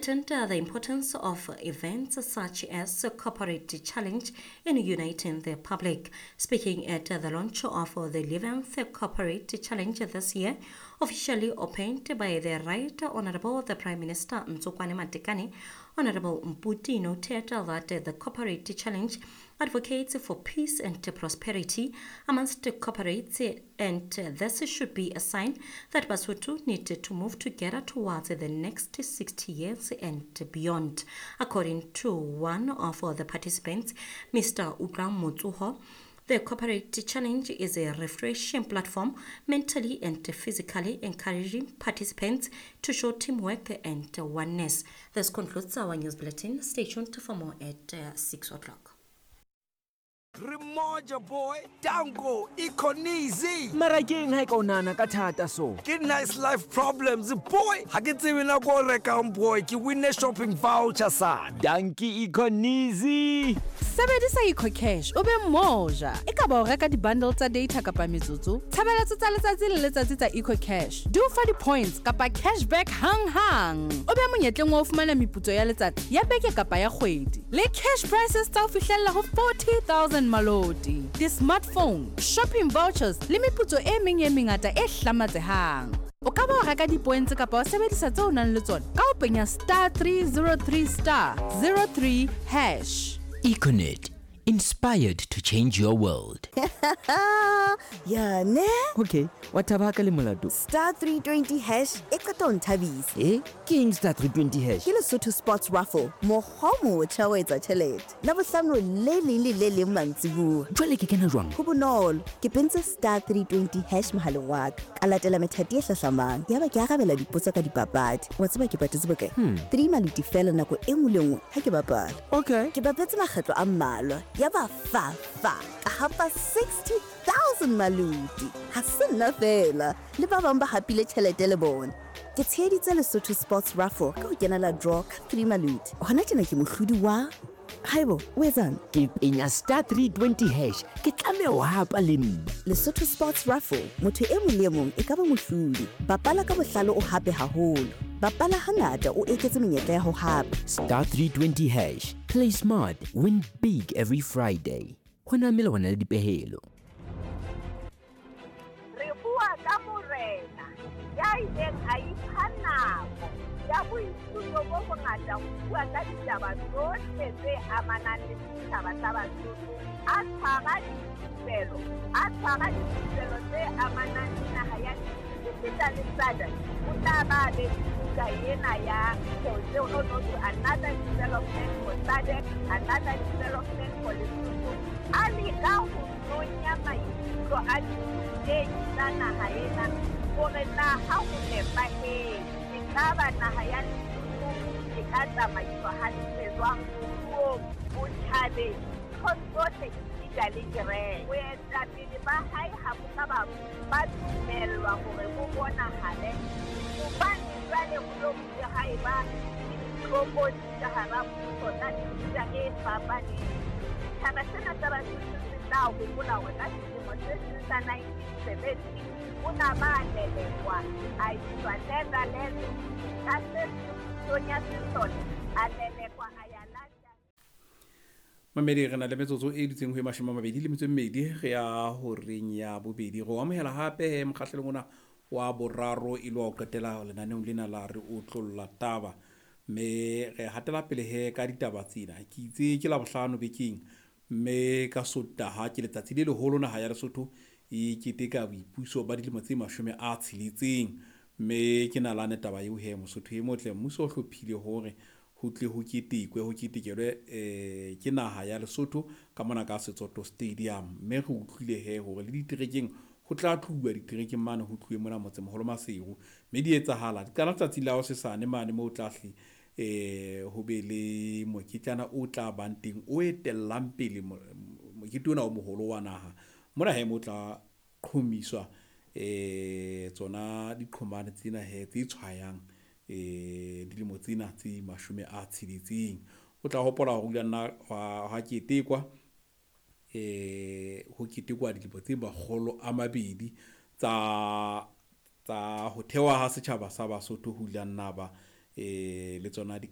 Heightened the importance of events such as Corporate Challenge in uniting the public. Speaking at the launch of the 11th Corporate Challenge this year, officially opened by the Right Honorable the Prime Minister Ntsokoane Matekane, Honorable Mphuti noted that the Corporate Challenge advocates for peace and prosperity amongst the corporates, and this should be a sign that Basotho need to move together towards the next 60 years and beyond. According to one of the participants, Mr. Utlang Motsuho, the Corporate Challenge is a refreshing platform, mentally and physically encouraging participants to show teamwork and oneness. This concludes our news bulletin. Stay tuned for more at 6 o'clock. Re moja boy, Danko, Econeasy. Mara ke eng ha e ka o nahana ka thata so? Ke nice life problems boy. Ha ke tsebe nako o rekang boy, ke winne shopping voucher sana. Danki Econeasy. Sebedisa EcoCash o be moja. E ka ba o reka di-bundle tsa data kapa metsotso, tshebeletso tsa letsatsi le letsatsi tsa EcoCash di o fa di-points kapa cashback hang-hang. O be monyetleng wa ho fumana meputso ya letsatsi, ya beke kapa ya kgwedi. Le cash prizes tsa ho fihlella ho 40,000 maloti, di-smartphone, shopping vouchers le meputso e meng e mengata e hlamatsehang. O ka ba wa reka di-points kapa wa sebedisa tseo o nang le tsona ka ho penya star 303 star 03 hash. Econet, inspired to change your world. Ya ne? Okay, wa thaba ha ka le molato. Star 320 hash e qeta ho nthabisa. E? Ke eng star 320 hash? Ke Lesotho Sports Raffle, mokgwa o motjha wa ho etsa tjhelete. Labohlano le leng le le leng mantsibuya. Jwale ke kena jwang? Ho bonolo, ke pentse star 320 hash mohaleng wa ka. Ka latela methati e hlahlamang. Yaba ke arabela dipotso ka dipapadi. Wa tseba ke patetse bokae? 3 maluti feela nako e nngwe le nngwe ha ke bapala. Okay. Ke bapetse makgetlo a mmalwa. Yaba fa fa ka hapa 60,000 maluti. Ha se nna feela, le ba bang ba hapile tjhelete le bona. Ke tsheheditse Lesotho Sports Raffle ka ho kenela draw ka 3 maluti. Hona tjena ke mohlodi wa Haibo, o etsang? Ke penya star 320 hash. Ke tlameha ho hapa le nna. Lesotho Sports Raffle, motho e mong le e mong e ka ba mohlodi. Bapala ka bohlale o hape haholo. Bapala hangata o eketse menyetla ya ho hapa. Star 320 hash. Play smart, win big every Friday. Ho na melawana le dipehelo. Re bua ka morena ya ileng a ipha nako ya boithuto bo bongata ho bua ka ditaba tsohle tse amanang le setjhaba sa Basotho, a tshwara dithupelo, a tshwara dithupelo tse amanang le naha ya esita le SADC. O tla ba be buka ena ya Jose no to another development for SADC, another development for Lesotho. A leka ho nonya maikutlo a dithutehi tsa naha ena hore na ha ho nepahetse ekaba naha ya Lesotho e ka tsamaiswa hantle jwang moruong, botjhabeng, nthong tsohle esita le kereke. Boetapele ba hae ha bo ka ba dumellwa hore bo bonahale hobane jwale ho lo bile ha eba le ditlokotsi ka hara mmuso tsa mefuta e fapaneng. Setjhaba sena sa Basotho se tla hopola hore ka selemo se seng sa 1970 o na ba lelekwa a iswa Netherlands ka se pusong ya sesole a lelekwa a ya London. Mamedi re na le metsotso e dutseng ho e 28 re ya horeng ya bobedi. Re o amohela hape mokgahlelong ona wa boraro e le wa ho qetela lenaneong lena la re otlolla taba. Mme re hatela pele he ka ditaba tsena. Ke itse ke Labohlano bekeng mme ka Sontaha ke letsatsi le leholo naha ya Lesotho e keteka boipuso ba dilemo tse 60. Mme ke nalane taba eo he Mosotho e motle mmuso o hlophile hore ho tle ho ketekwe ho ketekelwe ke naha ya Lesotho ka mona ka Setsoto Stadium. Mme re utlwile he hore le diterekeng ho tla tluwa diterekeng mane ho tluwe mona motsemoholo Maseru. Mme di etsahala di qala tsatsi la hosesane mane moo tla hle ho be le moketjana o tla bang teng o etellang pele mokete ona o moholo wa naha. Mona he mo tla qhomiswa tsona diqhomane tsena he tse tshwayang dilemo tsena tse 60. O tla hopola hore o ile nna ha ketekwa ho ketekwa dilemo tse 200 tsa ho thewa ha setjhaba sa Basotho ho ile nna ba le tsona di